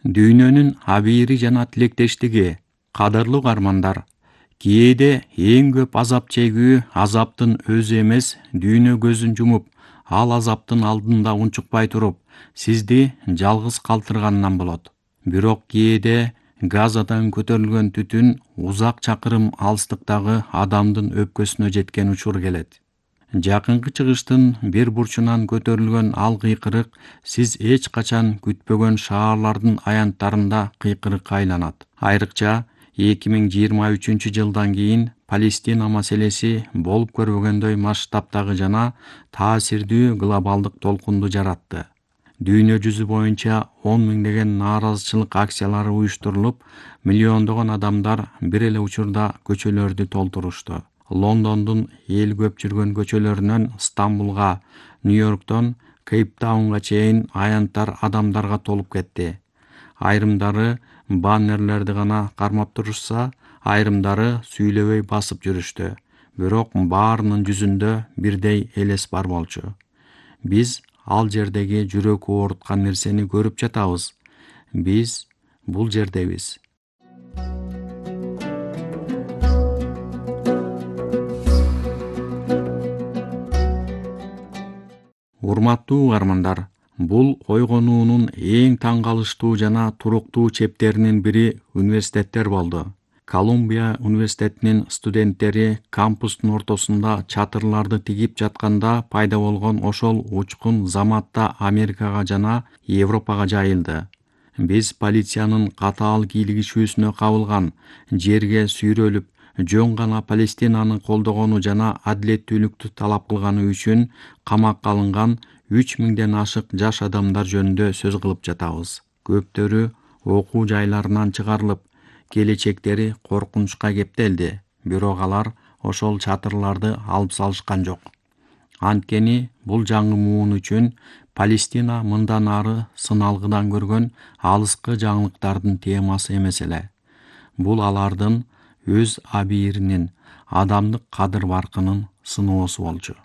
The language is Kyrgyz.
Дүйнөнүн абийири жана тилектештиги. Кадырлуу каармандар, кээде эң көп азап чегүү азаптын өзү эмес, дүйнө көзүн жумуп, ал азаптын алдында унчукпай туруп, сизди жалгыз калтырганынан болот. Бирок кээде Газадан көтөрүлгөн түтүн узак чакырым алыстыктагы адамдын өпкөсүнө жеткен учур келет. Жакынкы чыгыштын бир бурчунан көтөрүлгөн ал кыйкырык сиз эч качан күтпөгөн шаарлардын аянттарында кыйкырыкка айланат. Айрыкча 2023-жылдан кийин Палестина маселеси болуп көрбөгөндөй масштабтагы жана таасирдүү глобалдык толкунду жаратты. Дүйнө жүзү боюнча 10 миңдеген нааразычылык акциялары уюштурулуп, миллиондогон адамдар бир эле учурда көчөлөрдү толтурушту. Лондондун эл көп жүргөн көчөлөрүнөн Стамбулга, Нью-Йорктон Кейптаунга чейин аянттар адамдарга толуп кетти. Айрымдары баннерлерди гана кармап турушса, айрымдары сүйлөбөй басып жүрүштү. Бирок баарынын жүзүндө бирдей элес бар болчу. Биз ал жердеги жүрөк ооруткан нерсени көрүп жатабыз. Биз бул жердебиз. Урматтуу угармандар, бул койгонуунун эң таң калыштуу жана туруктуу чептеринин бири университеттер болду. Колумбия университетинин студенттери кампустун ортосунда чатырларды тигип жатканда пайда болгон ошол учкун заматта Америкага жана Европага жайылды. Биз полициянын катаал кийлигишүүсүнө кабылган, жерге сүйрөлүп, жөн гана Палестинаны колдогону жана адилеттүүлүктү талап кылганы үчүн камакка алынган 3000ден ашык жаш адамдар жөнүндө сөз кылып жатабыз. Көптөрү окуу жайларынан чыгарылып, келечектери коркунучка кептелди. Бирок алар ошол чатырларды алып салышкан жок. Анткени бул жаңы муун үчүн Палестина мындан ары сыналгыдан көргөн алыскы жаңылыктардын темасы эмес эле. Бул алардын өз абийиринин, адамдык кадыр-баркынын сыноосу болчу.